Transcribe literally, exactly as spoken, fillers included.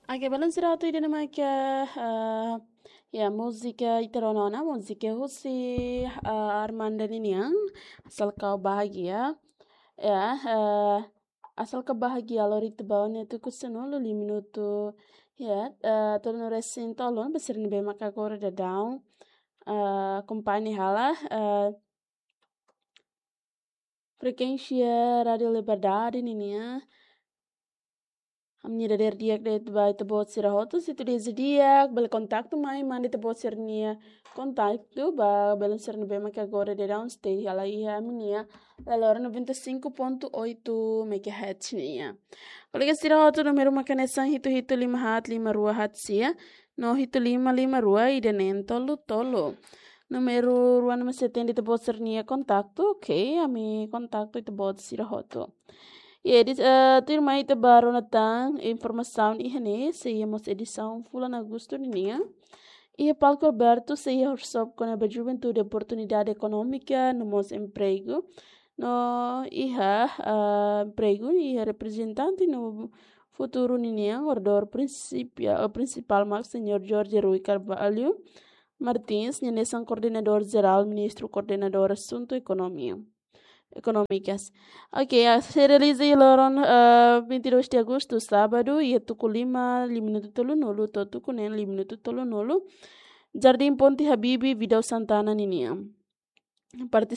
Oke, belun sira hotu, ida-ne'e mak, eh, ya, múzika ita rona ona, múzika husi, eh, Armanda ninian, Asal Kau Bahagia. Ya, eh, Asal Kau Bahagia, lori ita ba ona tuku sanulu, lima minutu, ya, eh, tolu resin tolu, ba sira ne'ebé maka agora daudaun, eh, akompaña hela, eh, frekuénsia Rádio Liberdade ninian. Ami-nia dadeer di'ak de'it ba ita-boot sira hotu, se ita dezeja di'ak, bele kontaktu mai, manda ita-boot sira-nia kontaktu ba belun sira ne'ebé maka agora daudaun stay hela iha ami-nia laloran noventa e cinco ponto oito megahertz nian. Kolega sira hotu, númeru mak hanesan hitu hitu lima haat lima rua haat sia, no hitu lima lima rua ida neen tolu tolu. Númeru rua ne'e mak sei atende ita-boot sira-nia kontaktu, oke, ami kontaktu ita-boot sira hotu. Ya, di, eh, tuirmai ita ba rona tan informasaun iha ne'e, sei iha mós edisaun fulan Agostu ninian. Iha palku abertu sei iha workshop kona-ba juventude, oportunidade ekonómika no mós empregu. No iha, ah, empregu, iha reprezentante no futuru ninian, oradór prinsipia-, eh, prinsipál mak Señór Jorge Rui Carvalho Martins, nia hanesan koordenadór jerál, ministru koordenadór asuntu ekonomia, ekonómikas. Oke, ya, sei realiza iha loron, eh, vinte e dois de agosto, sábadu, iha tuku lima, lima minutu tolunulu, to'o tuku neen, lima minutu tolunulu. Jardín Ponte Habibie, Vidal Santana ninian. Partis-